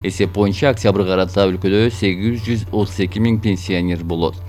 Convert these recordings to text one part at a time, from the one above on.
Эсеп боюнча октябрга карата өлкөдө 832 миң пенсионер болот.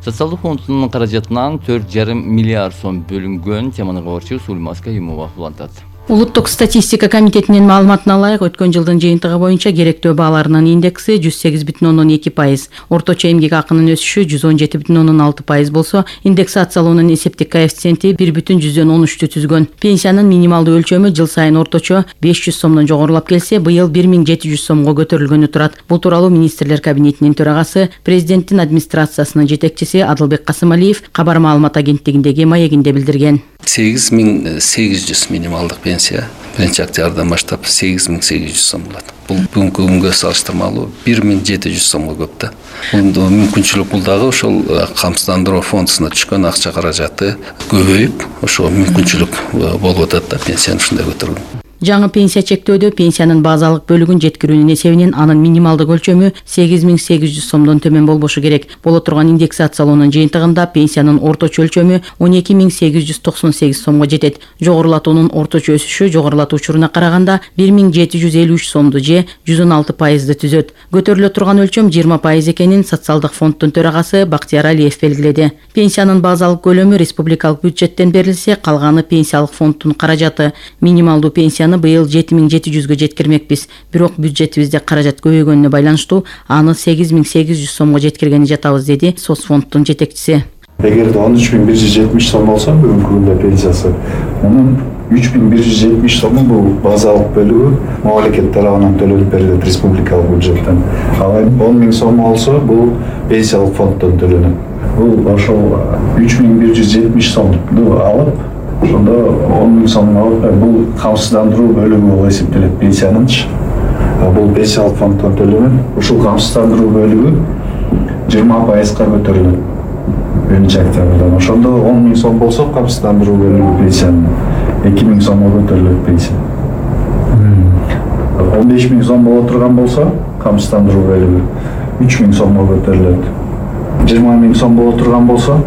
Социалдык фондунун каражатынан 4,5 миллиард сом бөлүнгөн. Теманы кабарчы Сулмас Каюмова улантат. Улуттук статистика комитетинин маалыматына ылайык, өткөн жылдын жыйынтыгы боюнча керектөө бааларынын индекси 108,2%, орточо эмгек акынын өсүшү 117,6% болсо, индексациялоонун эсептик коэффициенти 1,13 түзгөн. Пенсиянын минималдуу өлчөмү жыл сайын орточо 500 сомдон жогорулап келсе, быйыл 1700 сомго көтөрүлгөнү турат. Бул тууралуу министрлер кабинетинин төрагасы, президенттин администрациясынын жетекчиси Адылбек Касымалиев кабар маалымат агенттигиндеги маегинде билдирген. 8800 минималдык пенсия 1-октябрдан баштап 8800 сом болот. Бул бүгүнкү күнгө салыштырмалуу 1700 сомго көп да. Бул мүмкүнчүлүк, бул дагы ошол камсыздандыруу фондуна түшкөн акча каражаты көбөйүп, ошо мүмкүнчүлүк болуп атат да пенсияны ушундай көтөргөн. Жаңы пенсия чектөөдө пенсиянын базалык бөлүгүн жеткирүүнүн эсебинен анын минималдык өлчөмү 8800 сомдон төмөн болбошу керек. Боло турган индексациялоонун жыйынтыгында пенсиянын орточо өлчөмү 12898 сомго жетет. Жогорулатуунун орточо өсүшү жогорулатуу учуруна караганда 1753 сомду же 116% түзөт. Көтөрүлө турган өлчөм 20% экенин социалдык фонддун төрагасы Бактияр Алиев белгиледи. Пенсиянын базалык көлөмү республикалык бюджеттен берилсе, калганы пенсиялык фонддун каражаты. Минималдуу пенсия быйыл 7700гө жеткирмекпиз. Бирок бюджетибизде каражат көбөйгөнүнө байланыштуу аны 8800 сомго жеткиргени жатабыз, деди соцфонддун жетекчиси. Эгерде 13170 сом болсо бүгүнкү күндө пенсиясы, мунун 3170 сому бул базалык бөлүгү мамлекет тарабынан төлөнүп берилет республикалык бюджеттен. Ал 10000 сом болсо бул пенсиялык фонддон төлөнөт. Бул ошол 3170 сомду алып, ошондо 10.000 сом бул камсыздандыруу бөлүгү болуп эсептелет пенсиянынчы. Бул пенсиялык фонддон төлөнөт. Ушул камсыздандыруу бөлүгү 20%га көтөрүлөт 1-октябрдан. Ошондо 10.000 сом болсо камсыздандыруу бөлүгү пенсиянын 2000 сомго көтөрүлөт пенсия. 15.000 сом боло турган болсо камсыздандыруу бөлүгү 3000 сомго көтөрүлөт. 20.000 сом боло турган болсо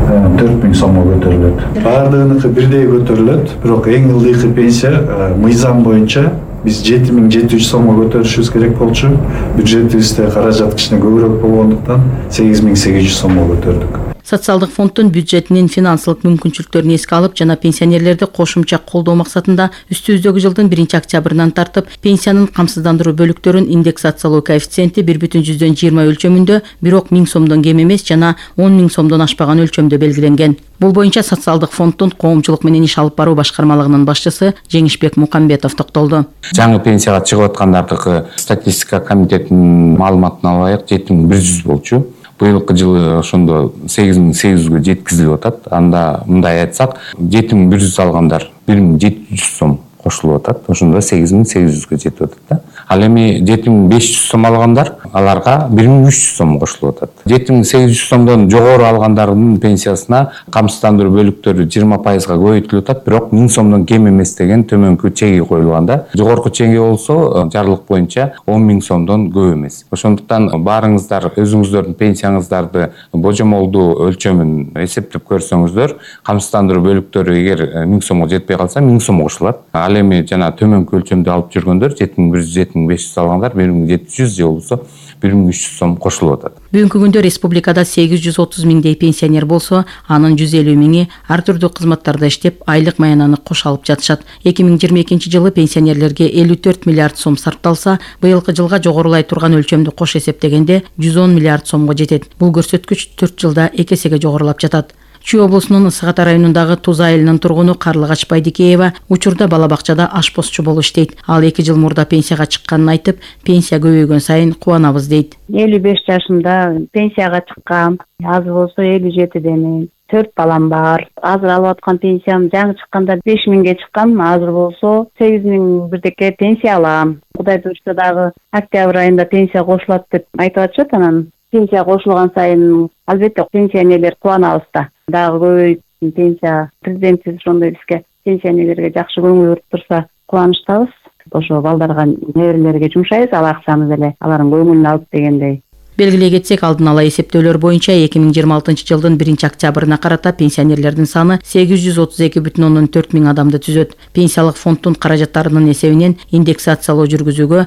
4000 сомго көтөрүлөт. Баардыгыныкы бирдей көтөрүлөт, бирок эң ылдыйкы пенсия мыйзам боюнча биз 7700 сомго көтөрүшүбүз керек болчу. Бюджетибизде каражат кичине көбүрөөк болгондуктан 8800 сомго көтөрдүк. Социалдык фонддун бюджетинин финансылык мүмкүнчүлүктөрүн эске алып жана пенсионерлерди кошумча колдоо максатында үстүбүздөгү жылдын 1-октябрынан тартып пенсиянын камсыздандыруу бөлүктөрүн индексациялоо коэффициенти 1,20 өлчөмүндө, бирок 1000 сомдон кем эмес жана 10.000 сомдон ашпаган өлчөмдө белгиленген. Бул боюнча социалдык фонддун коомчулук менен иш алып баруу башкармалыгынын башчысы Жеңишбек Мукамбетов токтолду. Жаңы пенсияга чыгып аткандардыкы статистика комитетинин маалыматына ылайык 7100 болчу. Быйылкы жылы ошондо 8800гө жеткизилип атат. Анда мындай айтсак, 7100 алгандар 1700 сом кошулуп атат. Ошондо 8800гө жетип атат да. Ал эми 7500 сом алгандар, аларга 1300 сом кошулуп атат. 7800 сомдон жогору алгандардын пенсиясына камсыздандыруу бөлүктөрү 20%га көбөйтүлүп атат, бирок 1000 сомдон кем эмес деген төмөнкү чеги коюлган да. Жогорку чеги болсо жарлык боюнча 10.000 сомдон көп эмес. Ошондуктан баарыңыздар өзүңүздөрдүн пенсияңыздарды божомолдуу өлчөмүн эсептеп көрсөңүздөр, камсыздандыруу бөлүктөрү эгер 1000 сомго жетпей калса 1000 сом кошулат. Ал эми жана төмөнкү өлчөмдү алып жүргөндөр 7100-7500 алгандар 1700 же болбосо 1300 сом кошулуп атат. Бүгүнкү күндө республикада 830 миңдей пенсионер болсо, анын 150 миңи ар түрдүү кызматтарда иштеп, айлык маянаны кош алып жатышат. 2022 жылы пенсионерлерге 54 миллиард сом сарпталса, быйылкы жылга жогорулай турган өлчөмдү кош эсептегенде 110 миллиард сомго жетет. Бул көрсөткүч 4 жылда 2 эсеге жогорулап жатат. Чүй облусунун Ысык Ата районундагы Туз айылынын тургуну Карлыгач Байдикеева учурда бала бакчада ашпозчу болуп иштейт. Ал 2 жыл мурда пенсияга чыкканын айтып, пенсия көбөйгөн сайын кубанабыз дейт. 55 жашымда пенсияга чыккам. Аз болсо 57демин. 4 балам бар. Азыр алып аткан пенсиям жаңы чыкканда 5000ге чыккан, азыр болсо 8000 бирдеке пенсия алам. Кудай буйрса дагы октябрь айында пенсия кошулат деп айтып атышат. Анан пенсия кошулган сайын албетте пенсионерлер кубанабыз да. Дагы көбөйүп пенсия, президентибиз ошондой бизге пенсионерлерге жакшы көңүл буруп турса кубанычтабыз. Ошо балдарга, неберелерге жумшайбыз, ал акчамызды эле алардын көңүлүн алып дегендей. Белгилей кетсек, алдын ала эсептөөлөр боюнча 2026 жылдын 1-октябрына карата пенсионерлердин саны 832,4 миң адамды түзөт. Пенсиялык фонддун каражаттарынын эсебинен индексациялоо жүргүзүүгө